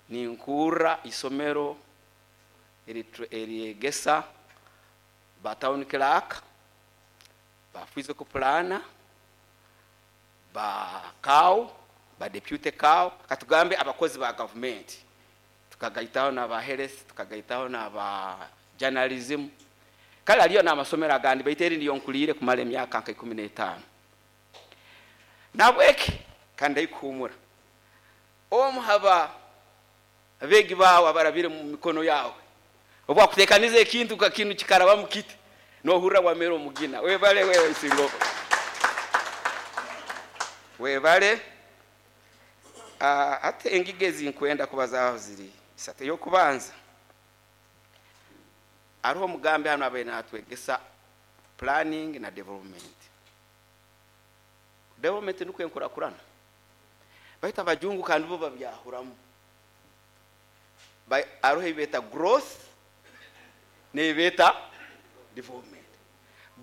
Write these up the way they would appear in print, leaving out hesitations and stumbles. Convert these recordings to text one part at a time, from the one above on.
Ninkurra isomero eryegesa ba town clerk, ba physical planner, ba CAO, ba deputy CAO, katugambe abakozi ba gavumenti, tukagaitaho n'aba health, tukagaitaho n'aba journalism. Kale haliyo n'amasomero agandi, baitu eri niyo nkuliire kumara emyaka nka 15. Nabweki kandi ndaikuhumura omu haba abeegi baawe abarabire mu mikono yawe, obu akuteekaniza ekintu nka kinu kikarabamu kiti, nohurra wamera omugina. Webale wewe Isingoba, webale. Ate engiga ezinkwenda kubazaaho ziri isatu. Ey'okubanza, hariho omugambi hanu abaire natwegesa planning na development. Development nukwo enkurakurana, baitu abajungu kandi bo babyahuramu. Hariho ebi beeta growth n'ebi beeta development.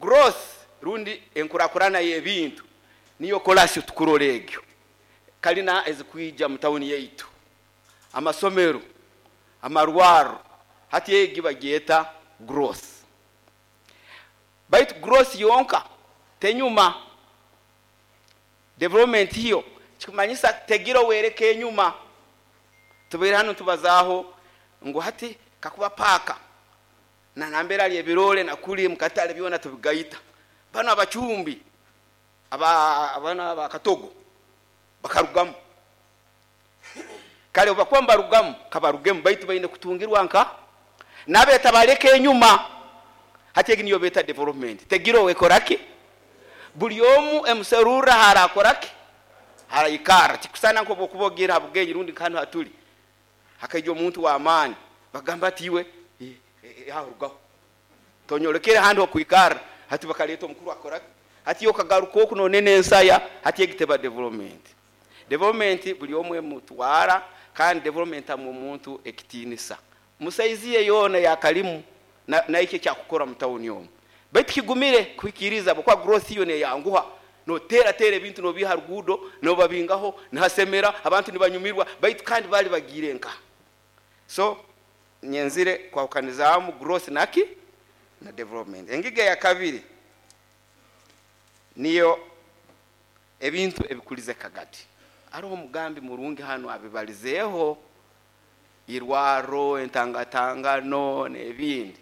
Growth rundi enkurakurana y'ebintu niyo kolasi tukurora egyo kalina ezikwija mu tawuni yaitu, amasomero, amarwaro. Hati egi bagyeta growth, baitu growth yonka tenyuma. Development hiyo kikumanyisa tegira owereka enyuma. Tubaire hano tubazaaho ngu hati kakuba paaka na nambere ali ebirole nakuli mukatale byona tubigaita, bano abacumbi bano abakatogo bakarugamu. Kale obakuba mbarugamu, kabarugemu, baitu baine kutungirwa nka nabeta baleka enyuma. Hati egi niyo beta development, tegira owekoraki, buli omu emuserurra harakoraki, haraikara. Tikusana nk'obwokuba ogiire ha bugenyi rundi nkahanu hatuli hakaija omuntu w'amaani, bagamba ati, "Iwe aho rugaho, tonyolekere handi hokwikara." Hati bakaleeta omukuru akoraki, hati okagaruka oku nonene ensaya. Hati egi teba development. Development buli omu emutwara, kandi development amu omuntu ekitiinisa musaizi ye yoona yakalimu naikyo ekyakukora mu tawuni omu. Baitu kigumire kuhikiriza bwokuba growth iyo neyanguha, notera tera ebintu, nobiha ruguudo, nobabingaho, nihasemera, abantu nibanyumirwa, baitu kandi bali bagiire nka. So nyenzire kwahukanizaamu growth naki na development. Engiga ya kabiri niyo ebintu ebikulize Kagadi. Hariho omugambi murungi hano abibalizeeho, irwaro, entangatangano n'ebindi,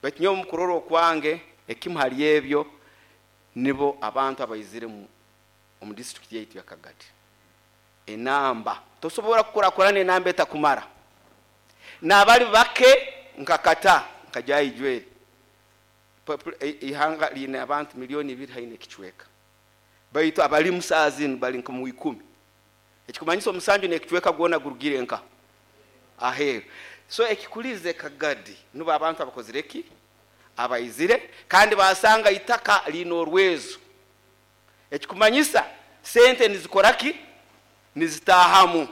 baitu nyowe mukurora okwange, ekimu hali ebyo nibo abantu abaizire omu district yaitu ya Kagadi. Enamba tosobola kukurakurana enamba etakumara, n'abali bake nkakata nka Jweri. Ihanga liine abantu 2 miliyoni haine ekicweka, baitu abali saa zinu bali nka mu 10, ekikumanyisa omusanju n'ekicweka gwona gurugire nka aheeru. So ekikulize Kagadi nubo abantu abakozire ki, abaizire kandi basanga itaka liine orwezo, ekikumanyisa sente nizikora ki, nizitahamu.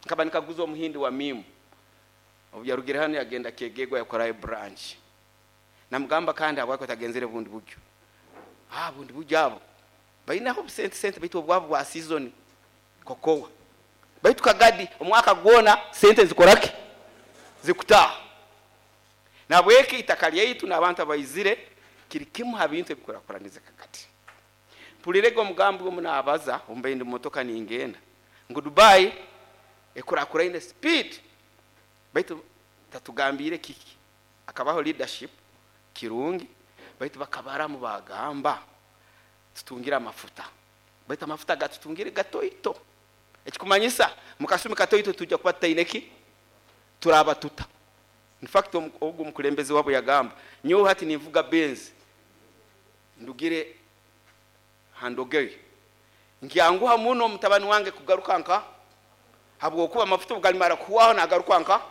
Nkaba nikaguza omuhindi wa mimu, obu yarugire hano yagenda Kyegegwa yakorayo branch. Namugamba, kandi habwaki otagenzere bundi buryo? Bundi buryo abo bainaho busente sente, baitu obwabo bwa season kokowa, baitu Kagadi omwaka gwona sente zikoraki, zikutaha. Nabweki itaka lyaitu n'abantu abaizire kiri kimu ha bintu ebikurakuraniza Kagadi. Mpulirege omugambi omu naabaza ombaire ndi mumotoka ningenda ngu Dubai ekurakuraine speed, baitu tatugambiire kiki akabaho leadership kirungi, baitu bakabaramu bagamba tutungire amafuta, baitu amafuta gatutungire gatoito, ekikumanyisa mukasumi katoito tujja kuba tutaine ki, turaba tuta. In fact, ogwo omukulembeze wabo yagamba, "Nyowe hati ninvuga Benz, ndugire handogeri, nkyanguha muno mutabani wange kugaruka nka, habwokuba amafuta obugalimara kuhwaho nagaruka nka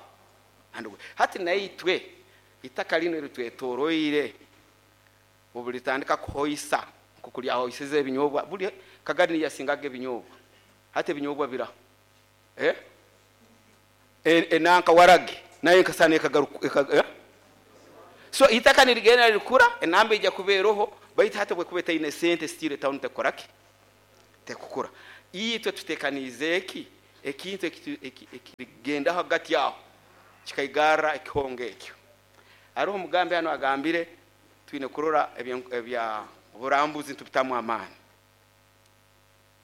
handogeri." Hati naitwe itaka lino eritwetoroire obu litandika kuhoisa nkoku lyahoisize ebinyobwa, buli Kagadi niyasingaga ebinyobwa, hati ebinyobwa biraho, eh? Enanka waragi nayo nkasana ekagaruka, eh? So itaka nirigenda lirikura, enamba ijja kubeeroho, baitu hati bwekuba etaine sente, still town tekoraki, tekukura. Itwe tutekaniize eki. Ekintu ekirigendaho hagati aho kikaigarra ekihongo ekyo. Haroho omugambi hano agambire twine kurora ebya burambuzi ntubitamu amaani,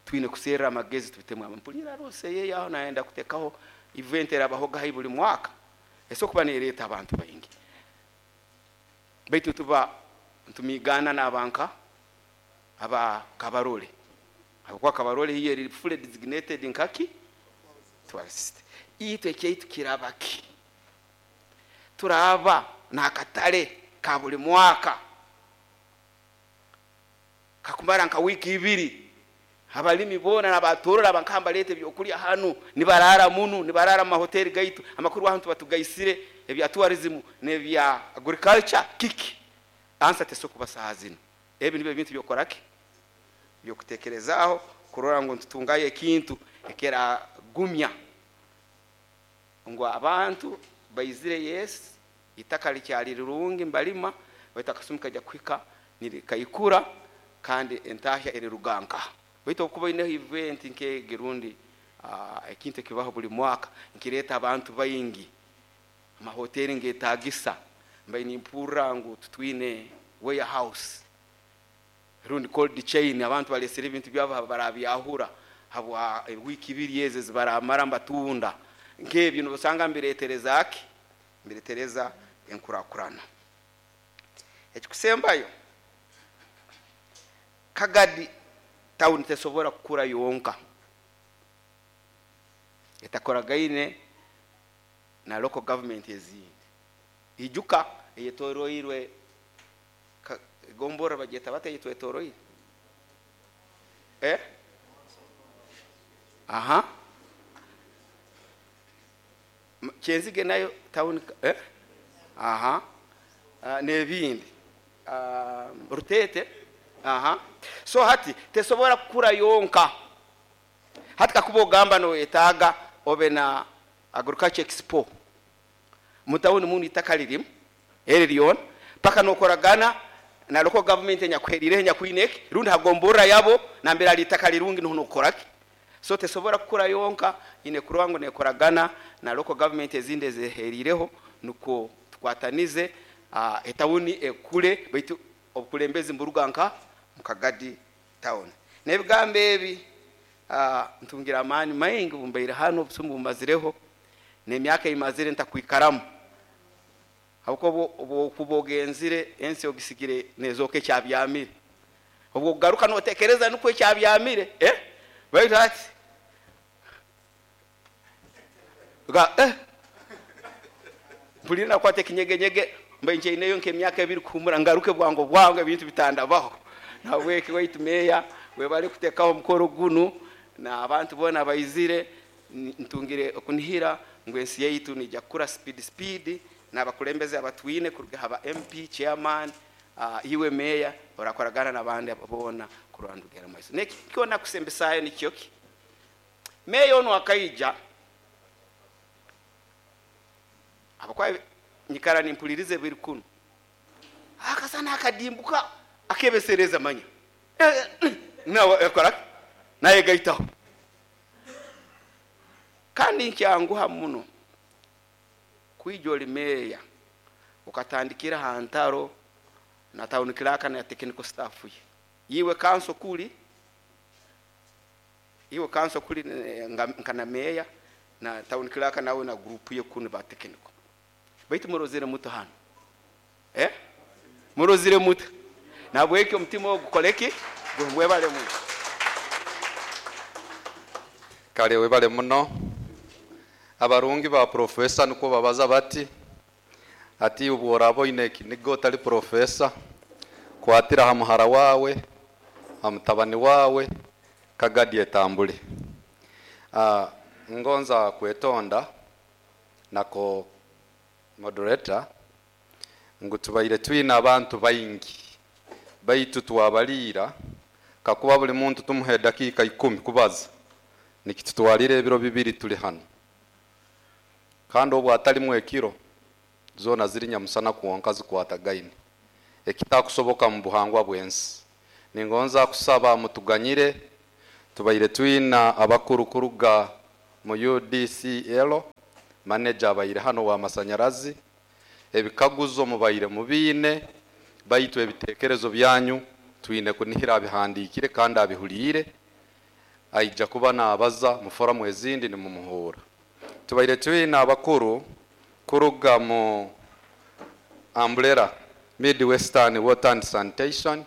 twine kuserra amagezi tubitemu amaani. Mpulira rose yeye aho naenda kutekaho event erabahoga hai buli mwaka, eso kuba nereeta abantu baingi, baitu tuba ntumigana n'abanka aba Kabarole, habwokuba Kabarole hiyo eri fully designated nkaki tourist. Itwe ekyaitu kiraba ki? Turaba n'akatale ka buli mwaka kakumara nka wiiki ibiri, abalimi boona n'abatorora abankamba baleeta ebyokulya hanu, nibarara munu, nibarara mu mahoteri gaitu. Amakuru aho tuba tugaisire ebya tourism n'ebya agriculture kiki? Ansa tesobola kuba saaha zinu. Ebi nibyo ebintu byokukoraki, byokutekerezaaho kurora ngu nitutungayo ekintu ekiragumya ngu abantu baizire. Yes, itaka likyali rirungi mbalima, baitu akasumi kajya kuhika nirikaikura kandi entahya eriruga nkaha. Baitu okuba oineho event nk'egi rundi ekintu ekibaho buli mwaka nkireeta abantu baingi, amahoteri ngetagisa. Mbaire nimpurra ngu tutwine warehouse rundi cold chain, abantu balesere ebintu byabo barabyahura habwa wiiki ibiri ezi ezibaramara mbatunda. Nk'ebyo nibasanga mbiretereza ki? Mbiretereza enkurakurana. Ekikusembayo, Kagadi town tesobora kukura yonka etakoragaine na local government ezindi. Ijuka eyetoroirwe gombora bagyeta bata eyetwetoroire? Aha, Kyenzige nayo town, aha, n'ebindi, Rutete, aha. So hati tesobora kukura yonka. Hati kakuba ogamba noyetaaga obe na agriculture expo mutawuni munu, itaka lirimu eri lyona, paka nokoragana na local government enyakuherireho, enyakwine eki, rundi hagomborra yabo nambere ali itaka lirungi, niho nokukoraki. So tesobora kukura yonka, ine kurora ngu nekoragana na local government ezindi ezeherireho, nukwo tukwatanize etawuni ekule, baitu obukulembezi mburuga nka mukagadi town. N'ebigambo ebi, ntungira amaani maingi bumbaire hano obusumu bumazireho n'emyaka eyimazire ntakwikaramu, habwokuba obwokuba ogenzire ensi ogisigire nezooka ekyabyamire, obwo okugaruka notekereza nukwo ekyabyamire, baitu hati ga mpulire nakwata ekinyegenyege, mbaire nkyaineyo nk'emyaka ebiri kuhumura ngaruke bwangu bwangu ebintu bitandabaho. Nahabweki waitu meeya, webale kutekaho omukoro gunu n'abantu boona baizire. Ntungire okunihira ngu ensi yaitu nijja kukura speed speed n'abakulembeze abatwine kuruga haba MP, chairman, iwe meeya orakoragana n'abandi boona kurora ndugera maiso. Nekyo nakusembesayo nikyo ki, meeya onu akaija abakuba nyikara nimpuliriza ebiri kunu, akasana akadimbuka akebesereza manya nawe akora naye gaitaho. Kandi nkyanguha muno kwija oli meeya ukatandikira ha ntaro na town clerk na technical staff ye. Iwe kanso kuli, iwe kanso kuli nka na meeya na town clerk nawe na group ye kunu ba technical, baitu murozere muto hano, murozire muto. Nabwekyo omutima ogu gukoleki? Mwebale muno. Kale webale muno. Abarungi ba profesa nukwo babaza bati ati ubworaba oine ekiniga otali profesa, kwatira ha muhara wawe, ha mutabani wawe, Kagadi etambule. Ngonza kwetonda nako moderator ngu tubaire twine abantu baingi, baitu twabaliira kakuba buli muntu tumuhe dakika 10 kubaza, nikitutwalira ebiro 2 tuli hano, kandi obwo atalimu ekiro zona ziri nyamusana kwonka zikwatagaine, ekitakusoboka mu buhangwa bw'ensi. Ningonza kusaba mutuganyire, tubaire twina abakuru kuruga mu UDCL, manager abaire hano wa masanyarazi. Ebikaguzo mubaire mubiine, baitu ebitekerezo byanyu twine kunihira abihandikire kandi abihuliire, aija kuba naabaza mu foramu ezindi nimumuhuura. Tubaire twine abakuru kuruga mu Umbrella Midwestern Water and Sanitation,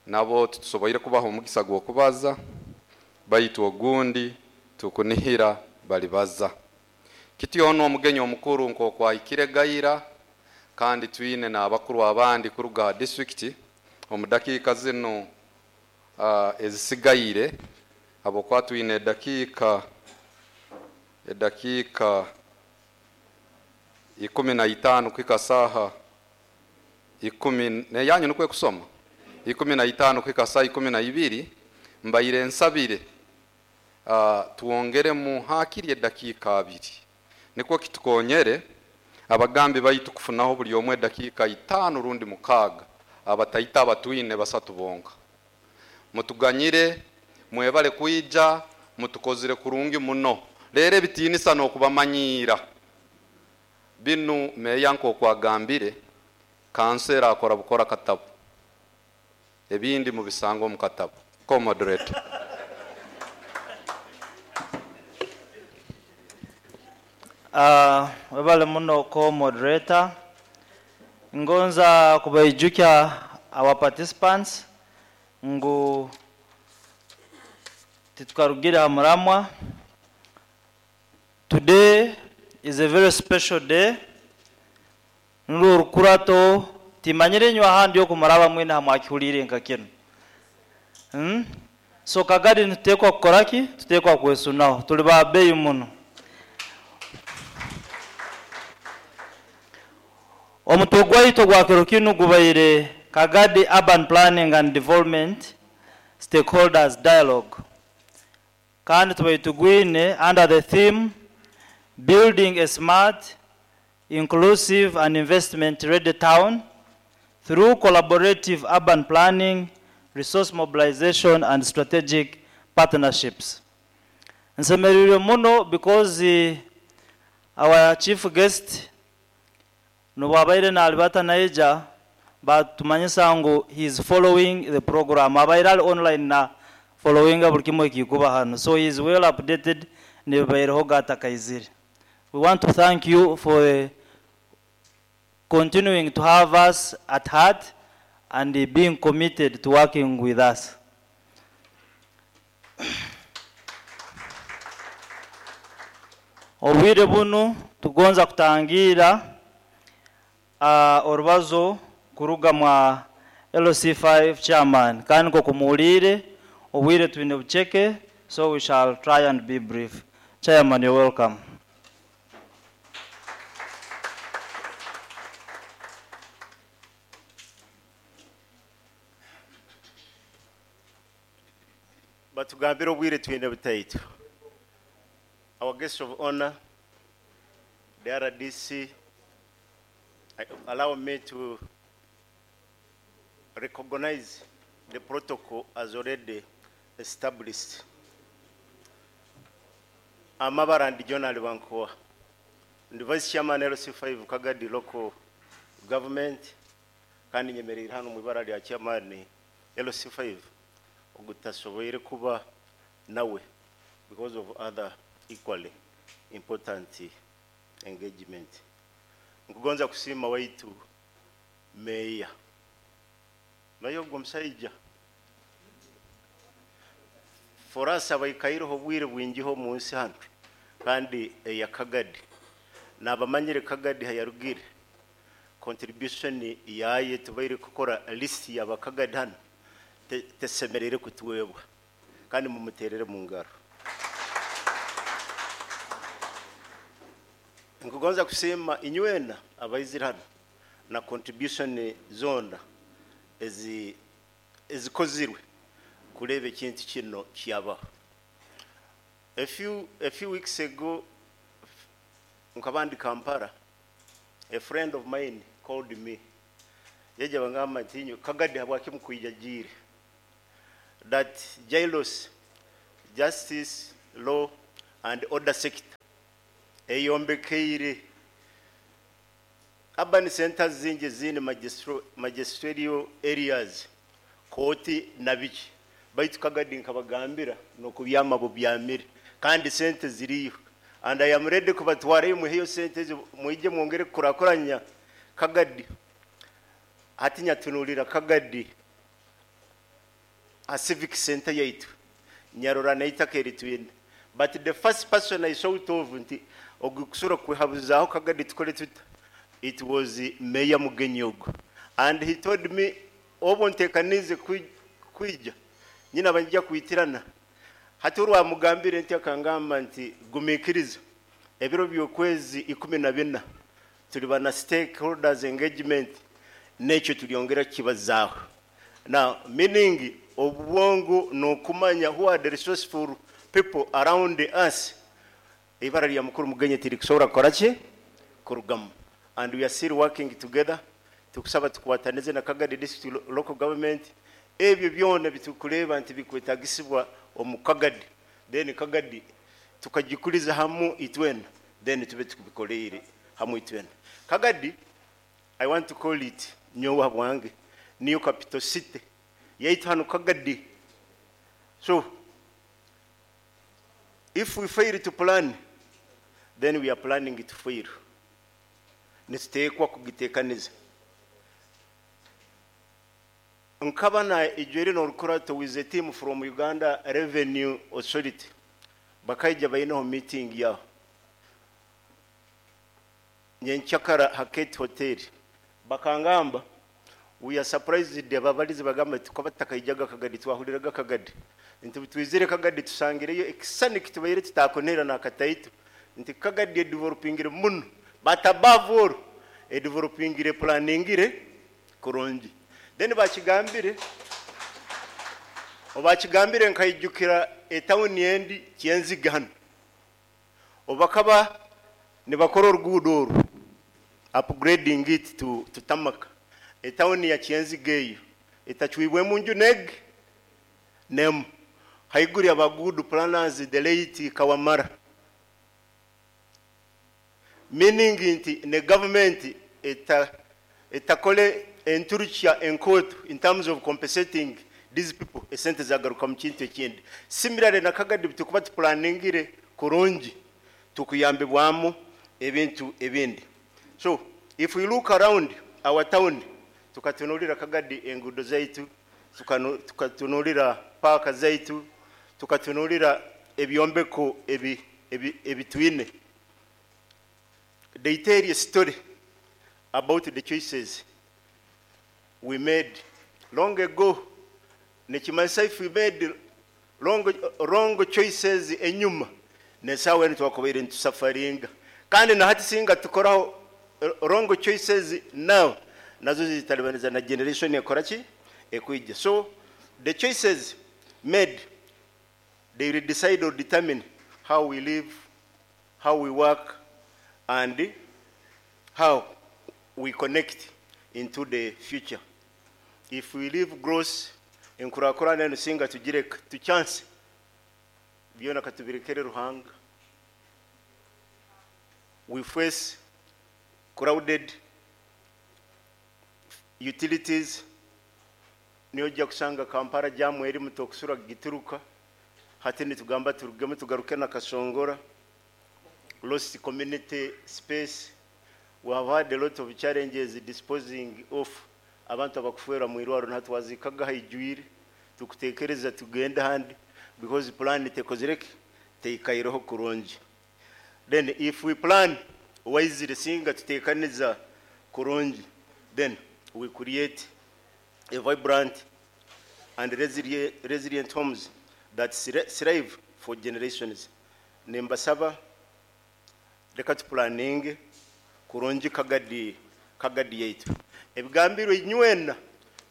nabo tutusoboire kubaha omugisa gw'okubaza, baitu ogundi tukunihira balibaza. Kityo ono omugenyi omukuru nk'okwahikire Gaira, kandi twine n'abakuru abandi kuruga ha district omu dakiika zinu ezisigaire, habwokuba twine edakiika 15 kuhika saaha 10 neyanyu nukwe kusoma 15 kuhika saaha 12. Mbaire nsabire tuwongeremu hakiri edakiika 2 nikwo kitukonyere abagambi baitu kufunaho buli omwe edakiika 5 rundi 6, abataita abatwine basatu bonka. Mutuganyire, mwebale kwija, mutukozire kurungi muno. Rero ebitinisa n'okubamanyira binu meya nk'okwagambire, kansera akora bukora katabu, ebindi mubisanga omu katabu. Co-moderator. Webale muno co-moderator. Ngonza kubaijukya our participants ngu titukarugira ha muramwa. Today is a very special day. Nurwo rukurato timanyire nywa handi okumuraba mwine hamwakihulire nka kino. So Kagadi nitutekwa kukoraki? Tutekwa kwesunaho. Tuli ba bei muno. Omutwe gwaitu gwa kiro kinu gubaire Kagadi Urban Planning and Development Stakeholders Dialogue. Kandi tubaire tugwine under the theme Building a Smart, Inclusive and Investment Ready Town through collaborative urban planning, resource mobilization and strategic partnerships. Nsemererwe muno because our chief guest nubwabaire nalibata naija batumanyisa ngu he is following the program. Abaire ali online na following buli kimwe ekikuba hano, so he is well updated nebaireho gatakaizire. We want to thank you for continuing to have us at heart and being committed to working with us. Obwire bunu tugonza kutangira orubazo kuruga mwa LC5 chairman. Kandi nko kumuulire obwire twine bucheke, so we shall try and be brief. Chairman, you're welcome. Batugambire obwire twine butaitu. Our guest of honor, the RDC, allow me to recognize the protocol as already established. Amabara and John Alibankoa, the Vice Chairman LC5 Kagadi Local Government, kandi nyemerera hano mu ibara lya Chairman LC5 ogutasoboire kuba nawe because of other equally important engagement. Nkugonza kusiima waitu meya naye ogwo omushaija for us abaikaireho obwire bwingiho omu nsi hanu kandi eya Kagadi nabamanyire Kagadi hayarugire contribution yaye tubaire kukora list y'abakagadi hano tesemerere kutuwebwa kandi mumuterere mu ngaro. Nkugonza kusema inywena abaizira hano na contribution zona ezikozirwe kureba ekintu kino kyabaho. A few weeks ago nkabandi Kampala, a friend of mine called me. Yaje bangamba nti inyo Kagadi habwaki mukwijagire that Jailos Justice law and order sector eyombekeire urban centers zingi ezindi magisterial areas, kooti na biki. Baitu Kagadi nkabagambira nokubyama bubyamire, kandi sente ziriyo, and I am ready kubatwarayo muheyo sente ezo, mwije mwongere kukurakuranya Kagadi. Hati nyatunulira Kagadi a civic center yaitu, nyarora naitaka eritwine. But the first person I thought of nti ogukusura kwehabuzaho Kagadi tukole tuta, it was Mayor Mugenyi ogu, and he told me, obu ntekanize kwija nyina bajja kwitirana. Hati urwamugambire nti akangamba nti gumikiriza ebiro by'okwezi 14 tuli bana stakeholders engagement, nekyo tulyongera kibazaaho. Now, meaning obwongo n'okumanya who are the resourceful people around us, ibara lya mukuru Mugenyi tirikusobora kukora ki kurugamu. And we are still working together. Tukusaba tukwatanize na Kagadi District Local Government, ebyo byona bitukureba nti bikwetagisibwa omu Kagadi, then Kagadi tukagikuliza hamu itwena, then tube tukubikoleire hamu itwena. Kagadi, I want to call it, nyowe bwange, niyo capital city yaitu hano Kagadi. So if we fail to plan, then we are planning to fail. Nituteekwa kugitekaniza. Nkaba na ijweri n'orukurato with a team from Uganda Revenue Authority, bakaija bainaho meeting yaho nyenkyakara Haket Hotel. Bakangamba, we are surprised. Ababalizi bagamba tukaba tutakaijaga Kagadi, twahuliraga Kagadi, nti twizire Kagadi tusangireyo ekisani kitubaire tutakonera nakataitu, nti Kagadi edevelopingire muno, but above all edevelopingire planningire kurungi. Then obakigambire nkaijukira etawuni endi Kyenziga hano, obakaba nibakora oruguudo oru, upgrading it to tarmac. Etawuni ya Kyenziga eyo etacwibwemu nju neg nemu haiguru aba good planners, the late Kawamara, meaning nti ne government etakole enturukya enkoto in terms of compensating these people, esente zagaruka mu kintu ekindi. Similarly na Kagadi, tukuba tuplaningire kurungi tukuyambibwamu ebintu ebindi. So if we look around our town, tukatunulira Kagadi engudo zaitu, tukatunulira paaka zaitu, tukatunulira ebyombeko ebitwine, they tell a story about the choices we made long ago. Nekimanyisa if we made wrong choices enyuma, nesawa enu twakubaire nitusafaringa. Kandi na hati singa tukoraho wrong choices now, nazo zitalibaniza na generation ekora ki ekwijja. So the choices made, they will decide or determine how we live, how we work, and how we connect into the future. If we live gross, enkurakurana eno singa tugireka tuchance, byona katubirekere Ruhanga. We face crowded utilities. Niyo ojja kusanga Kampala jamu eri mutokusura gituruka, hati nitugamba turugemu tugaruke na Kasongora. Lost community space. We have had a lot of challenges disposing of abantu abakufuera mu irwaro, natwazikaga haijwire, tukutekereza tugenda handi because plan tekozireke teikaireho kurungi. Then if we plan wisely, singa tutekaniza kurungi, then we create a vibrant and resilient homes that thrive for generations. Nimbasaba reka tupulaninge kurungi Kagadi yaitu. Ebigambirwe inywena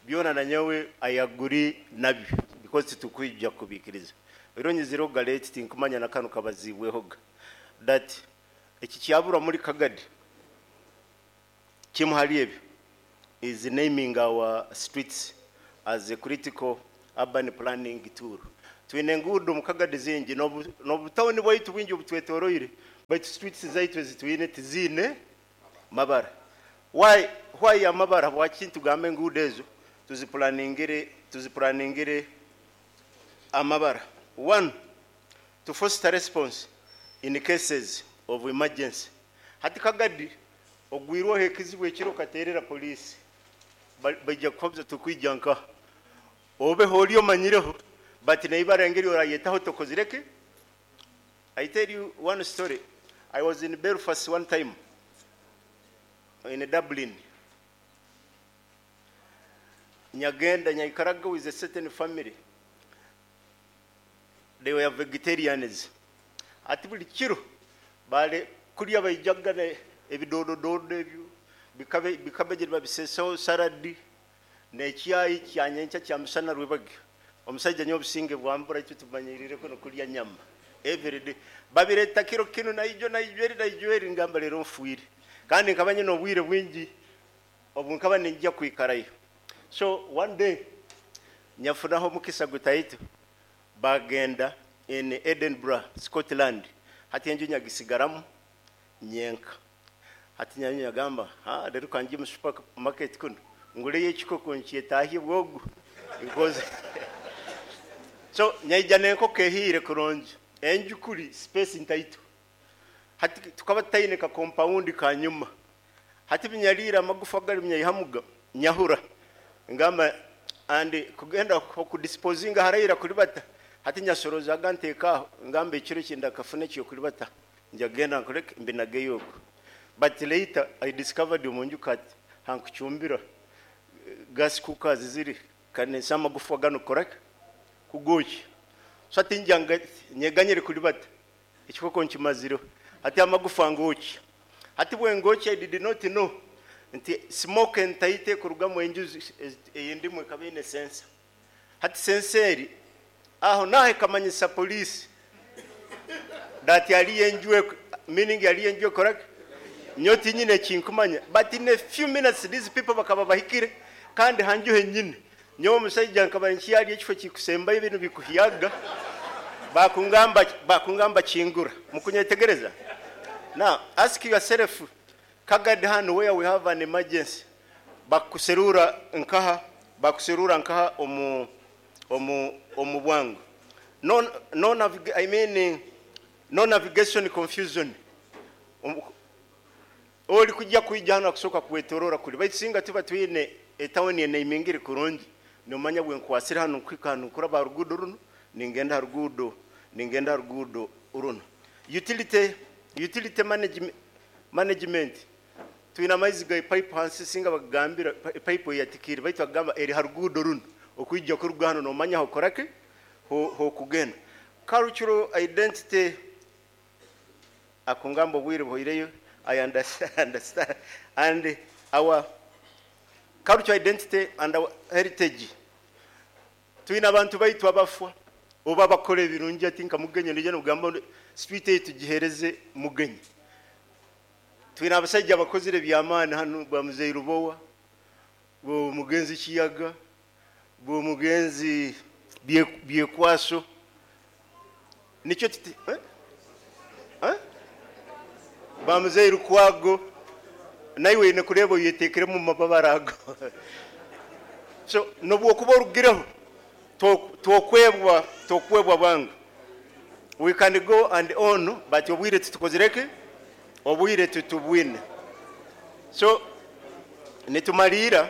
byona na nyowe ayaguri nabyo, because tutukwijja kubikiriza. Ironyi galeti tinkumanya na kanu kabazibwehoga that eki kyabura muri Kagadi kimu hali ebyo is naming our streets as a critical urban planning tool. Twine enguudo mu Kagadi zingi n'obutawuni bwaitu bwingi obutwetoroire, baitu streets zaitu ezitwine tiziine mabara. Why amabara? Bwaki ntugamba enguudo ezo tuziplaningire amabara? One, to foster response in cases of emergency. Hati Kagadi ogwirweho ekizibu ekiro katerera poliisi, baija kukuhabuza tukwija nkaha obeho oli omanyireho, but neibara engeri orayetaho tokozireke. I tell you one story. I was in Belfast one time, in Dublin. Nyagenda nyaikaraga with a certain family. They were vegetarians. Ati buli kiro bale kulya baijaga ebidodododo ebyo bikabe babisesaho saladi n'ekyayi kyanyenkya kya musana rwebage. Omusajja nyo obusinge bwambura itwe tumanyirire kuno kulya nyama every day. Babireta kiro kino naijo naijo naijo eri ngamba lero nfuire. Kandi nkaba nyine obwire bwingi obu nkaba ninjya kwikarayo. So one day nyafunaho mukisa gutaitu bagenda in Edinburgh, Scotland. Hati enju nyagisigaramu nyenka. Hati nyanyu nyagamba, ha rero kangi mu supermarket kuno nguleyo ekikoko nkyetahye bwogu. Because so nyaija n'enkoko ehiire kurungi. Enju kuri space ntaito. Hati tukaba tutaine ka compound ka nyuma. Hati binyalira amagufa gali binyayihamuga nyahura. Ngamba and kugenda okudisposinga haraira kulibata. Hati nyasorozaga nteekaho ngamba ekiro kinda kafune kyo kulibata. Njagenda nkoleke mbinageyo okwo. But later I discovered omunju kati hankuchumbira gas cookers ziri kanesa amagufa gano koraka kugoki. So ati njanga nyeganyire kulibata. Ekikoko nkimaziro. Ati amagufa ngoki. Ati bwe ngoki I did not know nti smoke ntaite kuruga mu enju eyindimu ekaba sensa. Hati senseri aho nahe kamanyisa police that yali enju, meaning yali enju correct nyoti nyine kinkumanya, but in a few minutes these people bakaba bahikire kandi hanju henyine nyowe omusajja nkaba nkyali ekifo kikusemba ebintu bikuhiyaga bakungamba kingura mukunyetegereza. Now ask yourself, Kagadi hano where we have an emergency, bakuserura nkaha omu bwangu. No navigation confusion. Oli kujja kwijja hano akusoka kwetorora kuli baitu singa tuba twine etawuni eneimingiri kurungi nomanya bwe nkwasira hano nkwika hano kuraba rugudo runo ningenda rugudo runo. Utility management twina amaizi ga pipe hansi singa bagambira pipe yatikiri baitu bagamba eri harugudo runo okwijja kuruga hano nomanya hokorake ho kugenda. Cultural identity akungamba obwire buhoireyo. I understand. And our cultural identity and our heritage. Twina abantu baitu abafwa oba bakora ebirungi ati nka mugenyi nije nogamba street etu gihereze mugenyi. Twina abasajja abakozire byamaani hano bwa Muzeyi Rubowa, bwo mugenzi Kiyaga, bwo mugenzi Byekwaso. Nikyo tuti Ba Muzeyi Rukwago naiwe ine kureba yetekere mu mababarago. So nobwo kuba orugireho tokwebwa bangu. We can go and on, but obwire tutukozireke obwire tutubwine. So nitumalira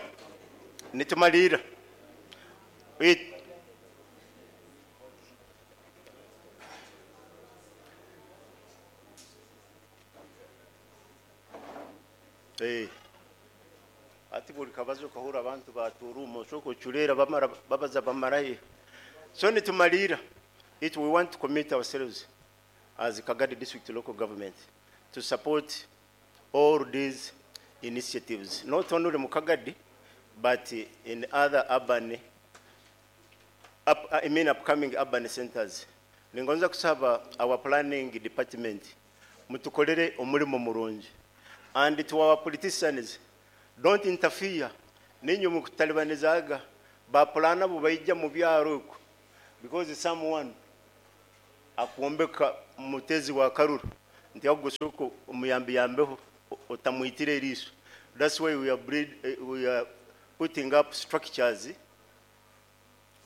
ati buli kabazo kahura abantu baturumo soko chulera bamara babaza bamaraye. So nitumalira it we want to commit ourselves as Kagadi District Local Government to support all these initiatives, not only mu Kagadi but in other urban upcoming urban centers. Ningonza kusaba our planning department mutukolere omulimo murungi. And to our politicians, don't interfere. Ninyo mukutalibanizaga ba plana bubaijja mu byaro uko. Because someone akwombeka mutezi wa karuru nti agusoko omuyambi yambeho otamwitire eriiso. That's why we are putting up structures.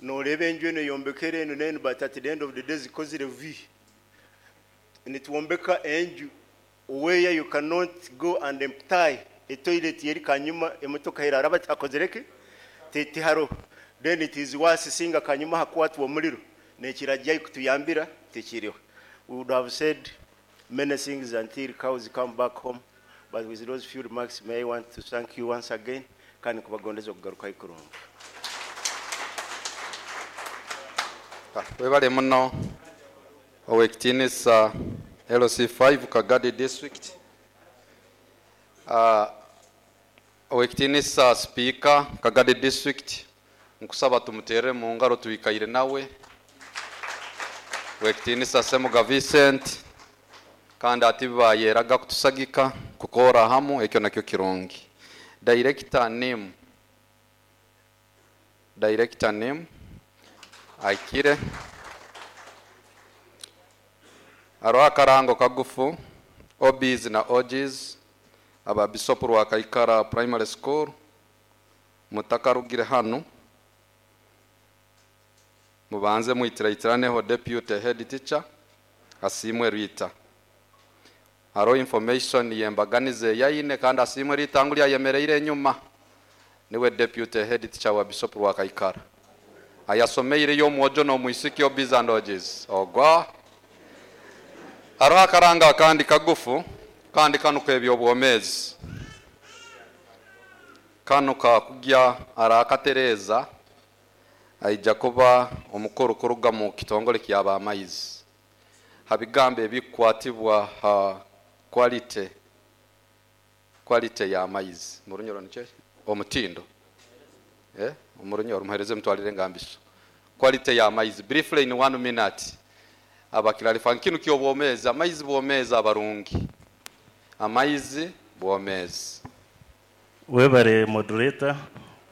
Nooreba enju eno eyombekere eno neno, but at the end of the day zikozire v nitwombeka enju where you cannot go and empty a toilet yeri kanyuma emotoka eraraba akozereke tiharo. Then it is worse singa kanyuma hakwatwa omuliro nekirajja kutuyambira tekiriho. We would have said many things until cows come back home, but with those few remarks, may I want to thank you once again kandi kubagondeza okugaruka ikurungi. Webale muno owekitinisa LC5 Kagadi District. Owekitinisa Speaker Kagadi District, nkusaba tumutere mu ngaro tuikaire nawe. Owekitinisa Semuga Vincent, kandi ati bayeraga kutusagika kukora hamu, ekyo nakyo kirungi. Director name, Director name aikire aro akarango kagufu OBs na OGs aba Bishop Rwakaikara Primary School mutakarugire hano mubanze muitiraitiraneho deputy head teacher Asimwe Rita. Haro information yembaganize yaine kandi Asimwe Rita nguli ayemereire enyuma niwe deputy head teacher wa Bishop Rwakaikara. Ayasomeire yo mwojo no mwisiki OBs and OGs ogwa haro akaranga kandi kagufu kandi kanu kebyobwomezi kanu kakugya arakatereza aija kuba omukuru kuruga mu kitongole kyaba amaizi habigambe ebikwatibwa ha quality ya amaizi murunyoro niche omutindo omurunyoro muhereze mutwalire ngambiso quality ya amaizi briefly in 1 minute abakirarifa nkinu kyobwomezi amaizi bwomezi abarungi amaizi bwomezi. Webare moderator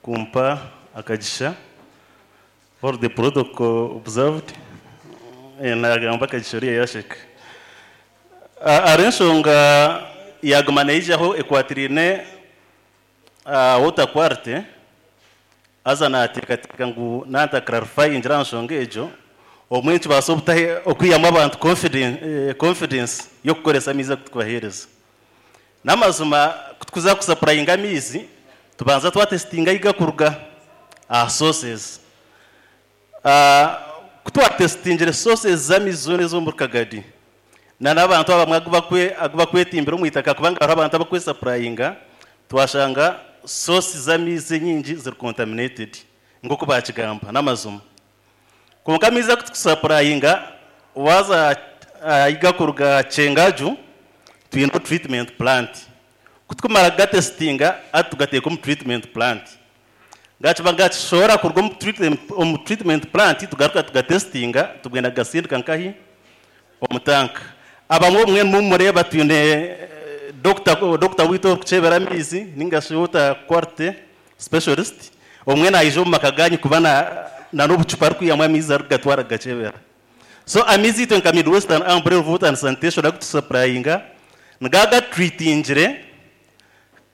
kumpa akagisha for the protocol observed nagamba akagisha oriya yasheka arensonga yaguma neijaho ekwatirine water quality aza nateekateeka ngu nanta clarify ngira nsonga egyo omwe tubaasa obutahe okwihamu abantu confidence y'okukoresa amaizi akutubaheereza. N'amazima kutukuza kusupplyinga amaizi tubanza twatestinga yiga kuruga aha sources. Kutwatestingire sources z'amaizi zoona ez'omu Kagadi na n'abantu abamwe agubakwetimbira omu itaka kubanga hariho abantu abakwesupplyinga twashanga sources z'amaizi nyingi ziri contaminated nk'oku bakigamba n'amazima. Konka amaizi akutusupplyinga waza ayiga kuruga Kyengaju twine treatment plant kutukumara gatestinga atugateeka omu treatment plant gakiba gakishobora kuruga omu treatment plant tugaruka tugatestinga tugenda gasindika nkahi omu tanka. Abamwe omwe mumureba twine doctor witu orikukyebera amaizi ninga shi water quality specialist omwe naija omu maka ganyu kuba na n'obucupa arikwihamu amaizi arikugatwara gakyebera. So amaizi itwe nka Midwestern Umbrella of Water and Sanitation akutusupplyinga ngagatreatingire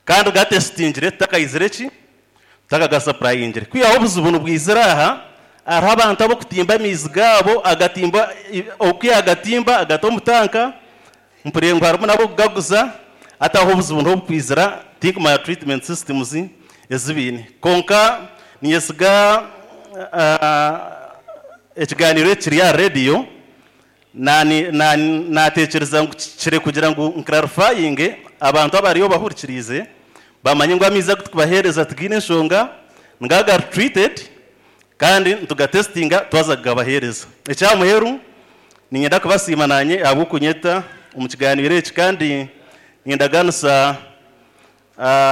kandi gatestingire tutakaizire ki tutakagasuplyingire. Kwihaho obuzibu nibwizira aha hariho abantu abakutimba amaizi gaabo agatimba okwiha agatimba agata omu tanka mpurire ngu harimu n'abokugaguza ataho obuzibu ntobukwizira tinkumanya treatment systems ezibiine. Konka ninyesiga ekiganiro ekiri aha radio natekereza ngu kire kugira ngu nclarifyinge abantu abariyo bahurikirize bamanye ngu amaizi agu tukubaheereza tigaine enshonga ngaga treated kandi tugatestinga twaza kugabaheereza. Ekyamuheru ninyenda kubasiima nanye ahabw'okunyeta omu kiganiro eki kandi nindaganisa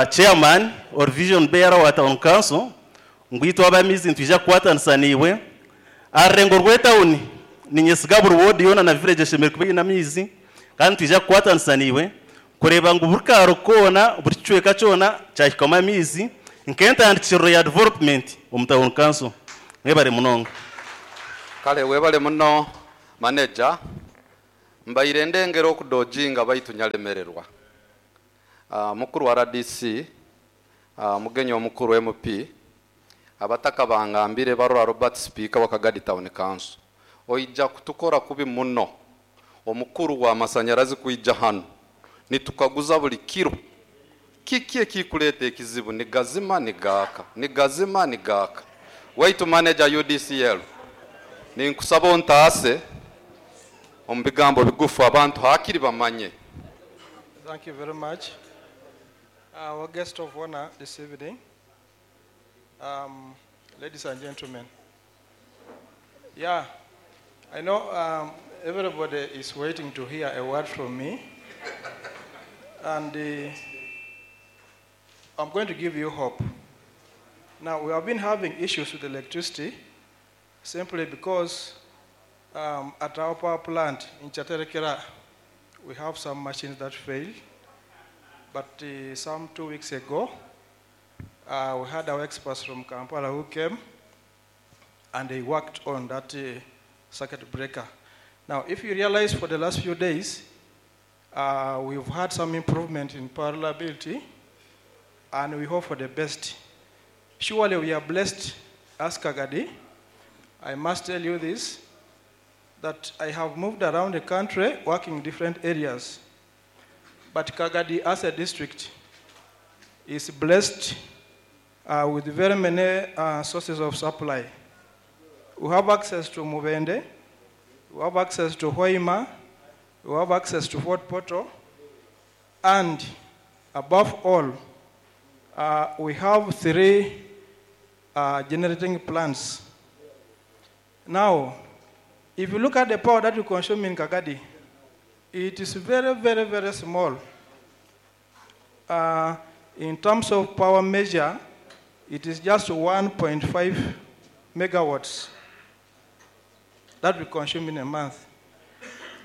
chairman or vision bearer wa town council ngu itwe ab'amaizi nitwija kukwatanisa niiwe aha rurengo rw'etawuni. Ninyesiga buri ward yoona na village eshemereire kuba eine amaizi kandi nitwija kukwatanisa niiwe kureeba ngu buri kaaro koona buri kicweka kyona kyahikamu amaizi nk'entandikiriro ya development omu town council. Mwebare munonga. Kale webale muno manager, mbaire ndengera okudojinga baitu nyalemererwa. Mukuru wa RDC, mugenyi omukuru MP, abataka bangambire barora Robert Speaker wa Kagadi Town Council. Oija kutukora kubi muno, omukuru wa masanyarazi kuija hano, nitukaguza buli kiro. Kiki ekikuleta ekizibu? Ni gazima ni gaka, ni gazima ni gaka. Waitu manager UDCL, ninkusaba ontaase omu bigambo bigufu abantu hakiri bamanye. Thank you very much. Our guest of honor this evening, ladies and gentlemen. Yeah, I know everybody is waiting to hear a word from me. And I'm going to give you hope. Now, we have been having issues with electricity simply because at our power plant in Kyaterekera, we have some machines that fail. But some 2 weeks ago, we had our experts from Kampala who came and they worked on that circuit breaker. Now, if you realize for the last few days, we've had some improvement in power reliability, and we hope for the best. Surely we are blessed as Kagadi. I must tell you this, that I have moved around the country working in different areas. But Kagadi as a district is blessed with very many sources of supply. We have access to Mubende, we have access to Hoima, we have access to Fort Portal, and above all, we have 3 generating plants. Now, if you look at the power that we consume in Kagadi, it is very, very, very small. In terms of power measure, it is just 1.5 megawatts that we consume in a month.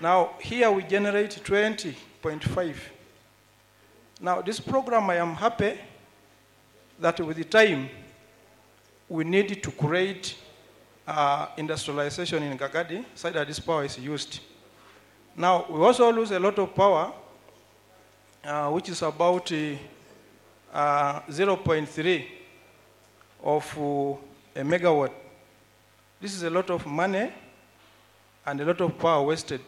Now, here we generate 20.5. Now, this program, I am happy that with the time, we need to create industrialization in Kagadi so that this power is used. Now, we also lose a lot of power, which is about 0.3 of a megawatt. This is a lot of money and a lot of power wasted.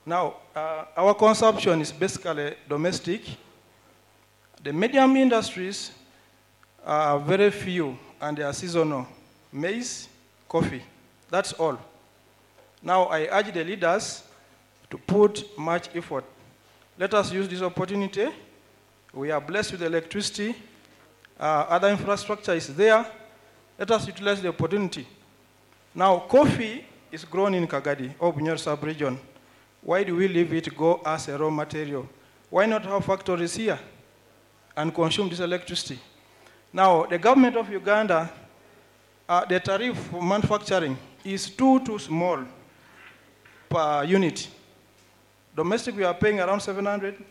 Now, our consumption is basically domestic. The medium industries are very few and they are seasonal. Maize, coffee, that's all. Now, I urge the leaders to put much effort. Let us use this opportunity. We are blessed with electricity. Other infrastructure is there. Let us utilize the opportunity. Now, coffee is grown in Kagadi, or Bunyoro sub-region. Why do we leave it go as a raw material? Why not have factories here and consume this electricity? Now, the government of Uganda, the tariff for manufacturing is too small per unit. Domestic, we are paying around 700.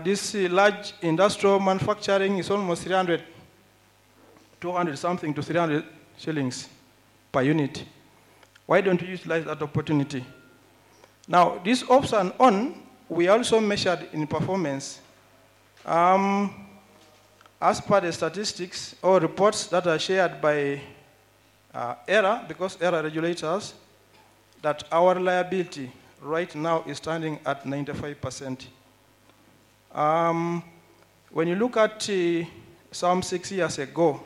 This large industrial manufacturing is almost 300, 200 something to 300 shillings per unit. Why don't you utilize that opportunity? Now, this ups and on, we also measured in performance. As per the statistics or reports that are shared by ERA, because ERA regulates us, that our reliability right now is standing at 95%. When you look at some 6 years ago,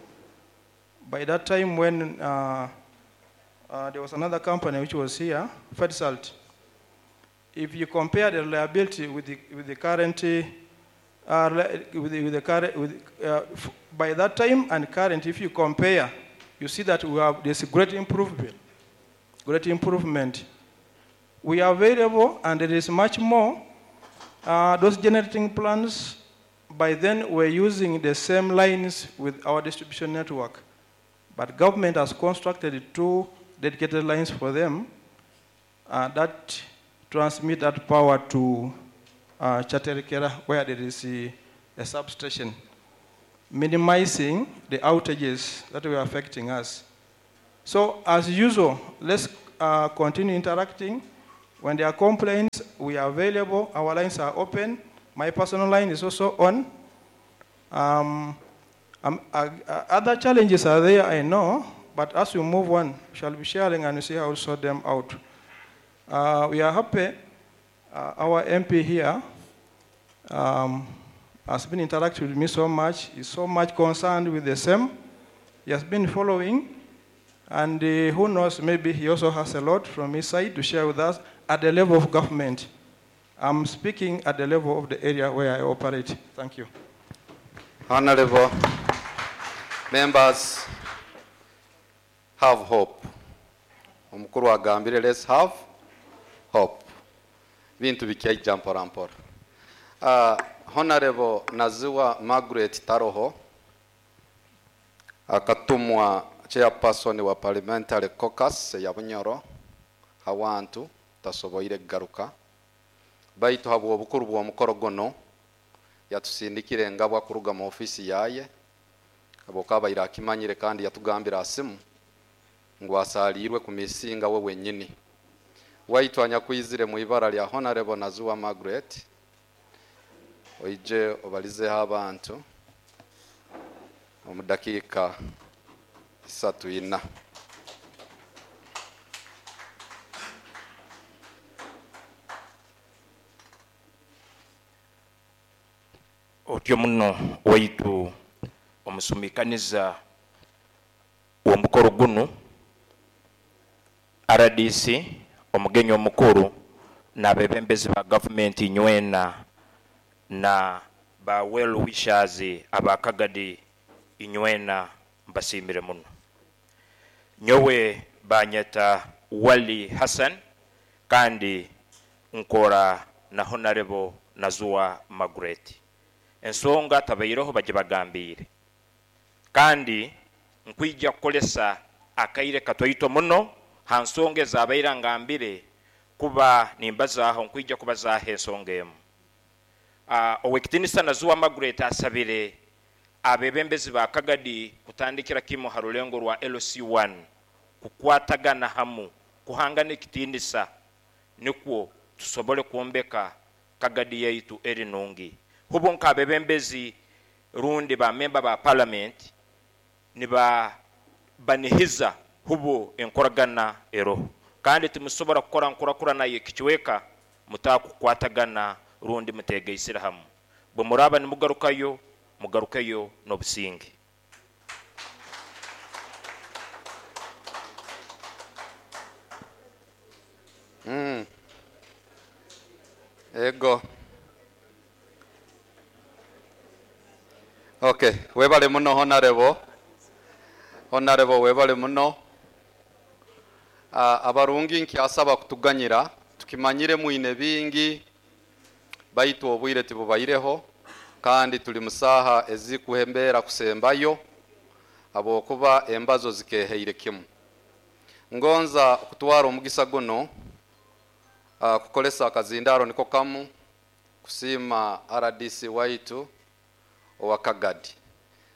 by that time when there was another company which was here, Ferdsalt, if you compare the reliability with the current, by that time and current, if you compare, you see that we have this great improvement. Great improvement. We are available, and there is much more. Those generating plants, by then, were using the same lines with our distribution network. But government has constructed 2 dedicated lines for them that transmit that power to Kyaterekera, where there is a substation, minimizing the outages that were affecting us. So as usual, let's continue interacting. When there are complaints, we are available. Our lines are open. My personal line is also on. Other challenges are there, I know, but as we move on, we shall be sharing and see how we sort them out. We are happy. Our MP here has been interacting with me so much. He's so much concerned with the same. He has been following, and who knows, maybe he also has a lot from his side to share with us at the level of government. I'm speaking at the level of the area where I operate. Thank you. Honorable members, have hope. Omukuru agambire, let's have hope. Bintu bikyaija mpora mpora. Honorable Naziwa Margaret Taroho akatumwa chairperson wa parliamentary caucus ya Bunyoro hawantu tasoboire kugaruka, baitu habwo obukuru bw'omukoro guno yatusindikire engabwa kuruga mu ofisi yaye habwokuba akimanyire kandi yatugambira asimu ngu asaliirwe ku misinga we wenyini. Waitu anyakwizire mu ibara lya Honorable Naziwa Margaret, oije obalizeho abantu omu dakiika 3-4. Otyo muno waitu omusumikaniza w'omukoro guno RDC omugenyi omukuru n'abebembezi ba gavumenti nywena na ba well wishers abakagadi inywena, mbasimire muno. Nyowe banyeta Wali Hassan kandi nkora na Honorable Naziwa Margaret. Ensonga tabaireho bagibagambire kandi nkwija kukolesa akaire katoito muno ha nsonga ezabaire ngambire kuba nimbazaho, nkwija kubazaho ensonga emu. Owekitinisa Naziwa Margaret asabire abebembezi ba Kagadi kutandikira kimu ha rulengo rwa LC1 kukwatagana hamu kuhangana ekitinisa nikwo tusobole kwombeka Kagadi yaitu eri nungi. Hubo nk'abebembezi rundi ba memba ba parliament niba banihiza hubo enkoragana eroho, kandi timusobora kukora nkurakurana yekichweka mutakukwatagana rundi mutegeisira hamu. Bwe muraba nimugarukayo, mugarukeyo n'obusinge. Ego. Okay, webale muno Honorable. Honorable webale muno. Abarungi nkyasaba kutuganyira tukimanyire mwine bingi baitu obwire tibubaireho kandi tuli musaha ezikuhembera kusembayo abokuba embazo zikeheire kimu. Ngonza kutwara omugisa guno kukolesa akazindaro niko kamu kusima RDC waitu owa Kagadi,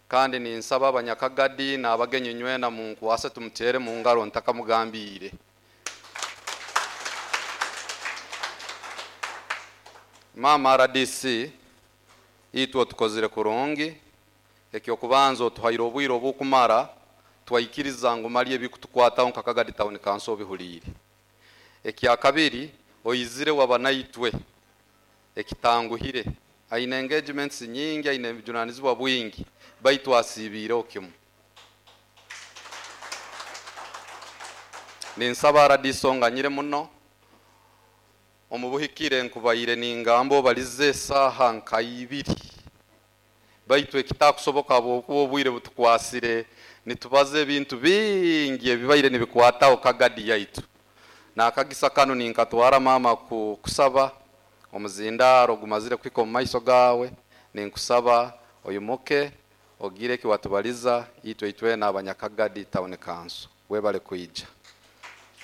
kandi ninsaba abanyakagadi n'abagenyi nywena munkwase tumutere mu ngaro ntakamugambire. Mama RDC itwe tukozire kurungi, ekyokubanza otuhaire obwire obukumara twaikiriza ngu mali ebikutukwataho nka Kagadi Town Council obihulire. Ekya kabiri oyizire wabanaitwe ekitanguhire aine engagements nyingi, aine ebijunanizibwa bwingi, baitu asiibiireho kimu. Ninsaba RDC onganyire muno omubuhikire nkubaire ningamba obalize esaaha nka ibiri, baitu ekitakusoboka habwokuba obwire butukwasire nitubaza ebintu bingi ebibaire nibikwataho Kagadi yaitu. Nakagisa kano ninkatwara mama kusaba omuzindaro gumazire kwika omu maiso gawe, ninkusaba oyimuke ogire kiwatubaliza itwe itwe n'abanyakagadi Town Council. Webale kuija.